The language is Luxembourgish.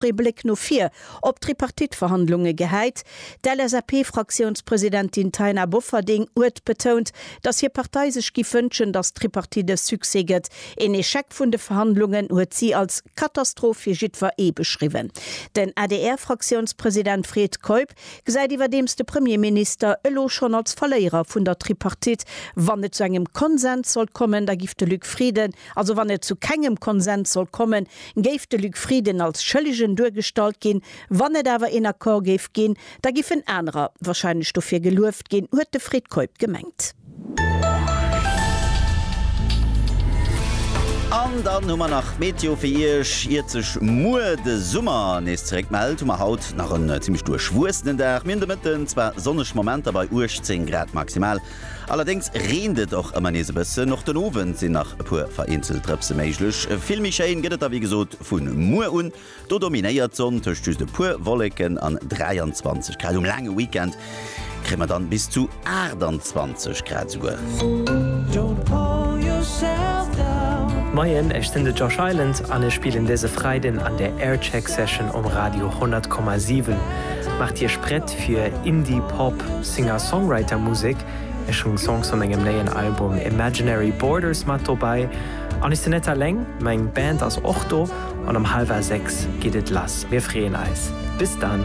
Ee Bléck no vir op d'Tripartite-Verhandlunge gehäit. D'LSAP-Fraktiounspresidentin Taina Bofferding huet betount, datt hir Partei sech giff wënschen, datt d'Tripartite e Succès gëtt. Een Echec vun de Verhandlungen huet si als Katastroph fir jiddwer ee beschriwwen. Den ADR-Fraktiounspresident Fred Keup gesäit iwwerdeems de Premierminister elo schonn als Verléierer vun der Tripartite. Wann et zu engem Konsens sollt kommen, da giff de Luc Frieden, also wann et zu kengem Konsens sollt kommen, Géif de Luc Frieden als Schëllegen duergestallt ginn, wann et awer een Accord géif ginn, da giffen anerer wahrscheinlech dofir gelueft ginn, huet de Fred Keup gemengt. An dann hu mer nach d'Meteo fir Iech. Iert sech muer de Summer nees zeréck mellt, hu mer haut nach en zimmlech duerchwuessenen Dag. Mir hunn de Mëtten zwar sonneg Momenter bei 18 Grad maximal, Allerdéngs reent et och ëmmer nees e bëssen. Och den Owend sinn nach e puer vereenzelt Drëpse méiglech. Vill méi schéin gëtt et da wéi gesot vu muer un. Do dominéiert d'Sonn tëscht just e puer Wolleken an 23 Grad. Um laange Weekend kréie mer dann bis zu 28 Grad esouguer. Moien, ech sinn de Josh Island an ech spillen dëse Freiden an der Aircheck Session um Radio 100,7. Maacht Iech prett fir Indie Pop, Singer-Songwriter Musek. Ech hunn Songs vu mengem néien Album Imaginary Borders mat dobäi. An ech sinn net alleng, meng Band ass och do an um hallwer 6 geet et lass. Mir freeën eis. Bis dann!